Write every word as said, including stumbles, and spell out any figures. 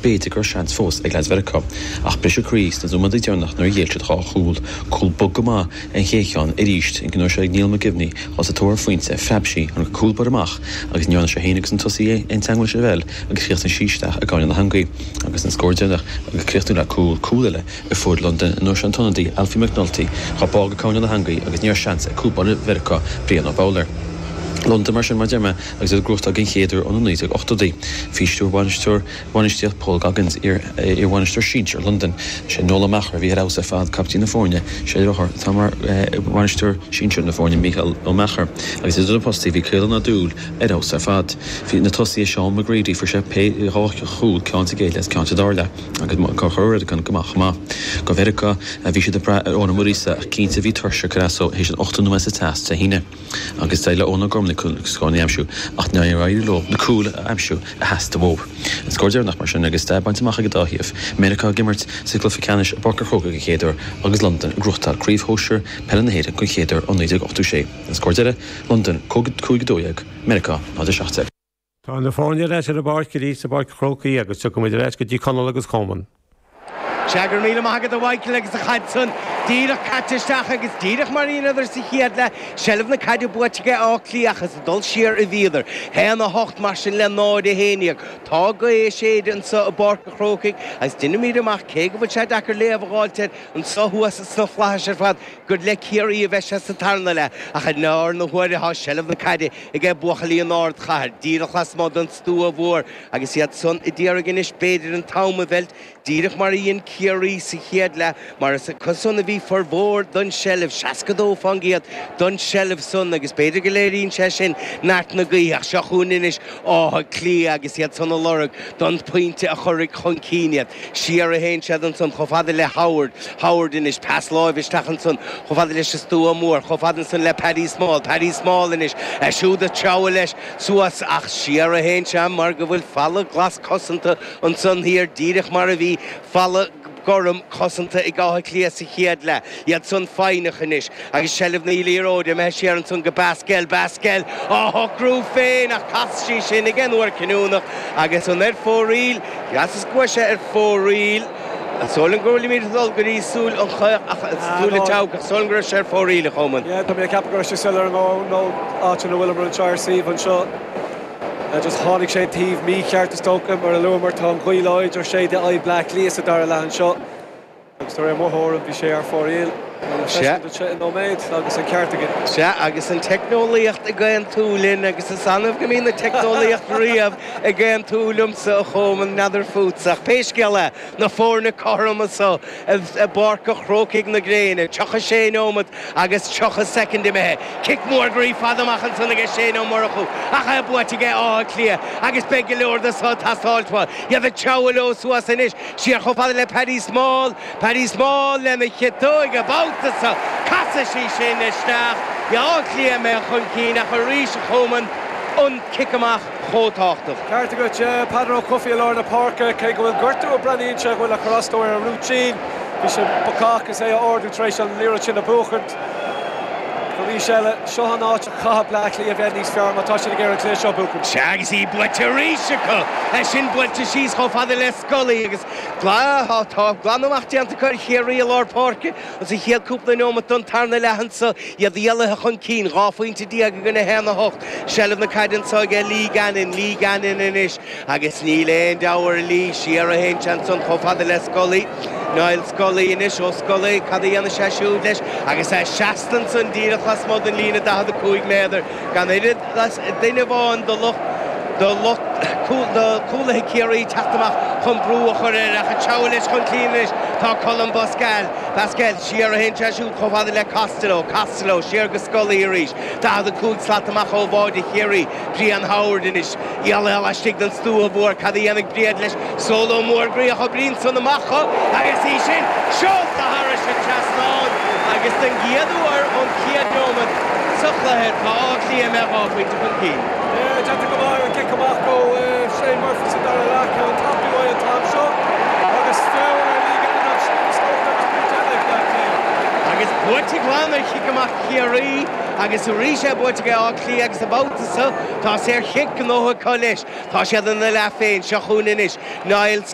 b'fhéidir go raibh seans fós ag leaids Mheiriceá. Ach briseadh croí sna nóiméadaí deireanach nuair a ghéill siad dhá chúl, cúl bog go maith an chéad cheann arís an gnó seo ag Niall McGivney dhul sa tóir ar phointe, phreab sí an cúl báire amach agus ní dhearna sé féin agus an tosaí aon teagmháil leis an bpeil agus chríochnaigh sí isteach i gcúinne na heangaí. Agus an scór deireanach agus críochnú le cúl, cúl eile a fuair Londain an uair seo an t-ionadaí Alfie McNulty dhá bá go cúinne na heangaí agus ní raibh seans ag cúl báire Mheiriceá Brian O'Bowler. Londain mar sin mar deir mé agus iad ag gnóthachtáil den chéad uair ó na naoi déag ochtóidí. Faoi stiúir bhainisteoir bhainistíocht Paul Goggins, iar iarbhainisteoir sinsir Londain. Sé Noel Ó Meachair a bhí ar fheabhas ar fad, caiptín na foirne, sé a dheartháir atá mar bhainisteoir sinsir na foirne, Mícheál Ó Meachair. Agus idir na postaí bhí Caolán Ó Dúill ar fheabhas ar fad. Bhí na tosaithe Seán McGready, fuair sé pé dhá chúl, ceann sa gcéad leath is ceann sa dara leath, agus Conchúr Ó Riordáin go maith chomh maith. Do Mheiriceá bhí siad ag brath ar Eoin Ó Muiríosa ach cinnte bhí tuirse ag cur as dó théis an ochtó nóiméad sa teas Dé hAoine. Agus d'éirigh le Eoin Ó Gormley scóranna a aimsiú ach níor éirigh leo na cúil a aimsiú a theastaigh uathu. An scór deireanach mar sin agus stair bainte amach ag an dá thaobh, Meiriceá ag imirt sa gcluiche ceannais i bPáirc an Chrócaigh den chéad uair agus Londain ag gnóthachtáil Craobh Shóisir Peile na hÉireann den chéad uair ó naoi déag ochtó sé. An scór deiridh, Londain cúig a dó dhéag, Meiriceá náid a seacht déag. Tá na foirne ar ais ar an bpáirc arís i bPáirc an Chrócaigh agus tiocfaimid ar ais go dtí Conall agus Coman. Sea, go raibh míle maith agat a Mhichael agus an chaid san díreach caite isteach agus díreach mar a dheineadar sa chéad leath, seilbh na caide buaite ag Áth Cliath ach is ag dul siar a bhíodar. Haon a hocht mar sin le náid a haon déag. Tá gaoth ag séideadh anseo i bPáirc an Chrócaigh agus deinimid amach cé go bhfuil sé deacair léamh a dh'fháilt air anseo thuas sna flaithis ar fad gur le Ciarraí a bheidh sé sa tarna leath ach i lár na huaire tá seilbh na caide ag buachaillí an ardchathair díreach lasmuigh den stua mhór agus iad san ag iarraidh anois b'fhéidir an t-am a mheilt díreach mar a dhein Ciarraí sa chéad leath mar is acu san a bhí formhór don seilbh seasca dó faoin gcéad don seilbh san agus b'fhéidir go léiríonn sé sin neart na gaoithe ach seo chugainn anois Áth Cliath agus iad san ag lorg don phointe a chuirfidh chun cinn iad. Siar a théann siad ansan chomh fada le Howard, Howard anois, pas láimhe isteach ansan chomh fada leis an stua mór, chomh fada ansan le Paddy Small, Paddy Small anois, é siúd ag treabhadh leis suas ach siar a théann sé mar go bhfuil falla glas cosanta ansan thiar díreach mar a bhí falla gorm cosanta ag Áth Cliath sa chéad leath. Iad san foighneach anois agus seilbh na liathróide imithe siar ansan go Basquel, Basquel á shocrú féin ach chas sí sin ag an uair chinniúnach agus an ar fóraoil, Mheasas go bhfuil sé ar fóraoil. Is dóigh liom go bhfuilimid ag dul go dtí súil an chaoch ach súil an tseabhaic ach is dóigh liom go raibh sé ar fóraoil, a Choman. Yeah, tá mé ag ceapadh go raibh sé soiléir nó áit ina bhfuileamar anseo ar suíomh anseo. Just tháinig sé taobh mícheart is dócha mar a luamar tá an ghaoth láidir séideadh aghaidh Bleá Cliath sa dara leath anseo. Agus de réir mo thuairim bhí sé ar fóraoil. Sea. nóiméad agus an ceart againn. Sea, agus an teicneolaíocht ag aontú linn agus is annamh go mbíonn an teicneolaíocht riamh ag aontú liomsa a Choman, n'fheadar fútsa ach pé scéal é, na foirne cothrom anseo i bPáirc an Chrócaigh na gréine, tríocha sé nóiméad agus tríocha soicind imithe. Cic mór groí fada amach ansan aige Shane Ó Murchú ach é buaite aige Áth Cliath agus beidh go leor de seo ag teastáilt uathu. Iad ag treabhadh leo suas anois, siar chomh fada le Paddy Small, Paddy Small lena chiotóig an babhta seo, casfaidh sí sin isteach. Áth Cliath imithe chun cinn ach arís a Choman, an cic amach chomh tábhachtach. Ceart agat, Peadar Ó Cofaigh i lár na páirce, cé go bhfuil gortú a breathnaíonn sé go bhfuil ag cur as dó ar an rúitín. Bhí sé bacach is é a ardú tar éis an liathróid sin a bhuachaint. Arís eile, seo an áit a chaithfidh Bleá Cliath a bheith níos fearr má tá siad ag iarraidh an cluiche seo a bhuachaint. Sea, agus í buailte arís acu. É sin buailte síos chomh fada le Scully agus tá glanadh amach déanta acu ar Chiarraí i lár páirce sa chéad cúpla neomat don tarna leath anseo, iad éalaithe chun cinn, dhá phointe déag i gcoinne a haon a hocht. Seilbh na caide anseo aige Lee Gannon, Lee Gannon anois agus níl aon deabhadh ar Lee, siar a théann sé ansan chomh fada le Scully. Niall Scully anois, ó Scully, cad a dhéanfaidh sé siúd leis agus é seasta ansan díreach lasmuigh den líne daichead a cúig méadar, gan oiread le duine amháin de lucht de lucht de chúlaithe Chiarraí teacht amach chun brú a chur air ach ag treabhadh leis chun cinn anois tá Colm Basquel. Basquel, siar a théann sé siúd chomh fada le Costello, Costello, siar go Scully arís, daichead a cúig slat amach ó bháide Chiarraí, Brian Howard anois, éalaithe laistigh den stua mhór, cad a dhéanfaidh Brian leis? Solo mór groí ó Bhrian san amach agus í sin seolta thairis an trasnán agus den gcéad uair ón chéad neomat sa chluiche tá Áth Cliath imithe dhá phointe chun cinn. Déanta go maith ar an gcic amach ó Shane Murphy sa dara leath, ceann tapaidh uaidh an t-am seo agus feall ar Lee Gannon ansin is dócha agus pointe eile ag Bleá Cliath. Agus buaite glan ar chic amach Chiarraí agus arís é buaite ag Áth Cliath agus an babhta seo tá saorchic gnóthaithe acu leis. Tá siad ina leath féin, seo chugainn anois Niall Scully.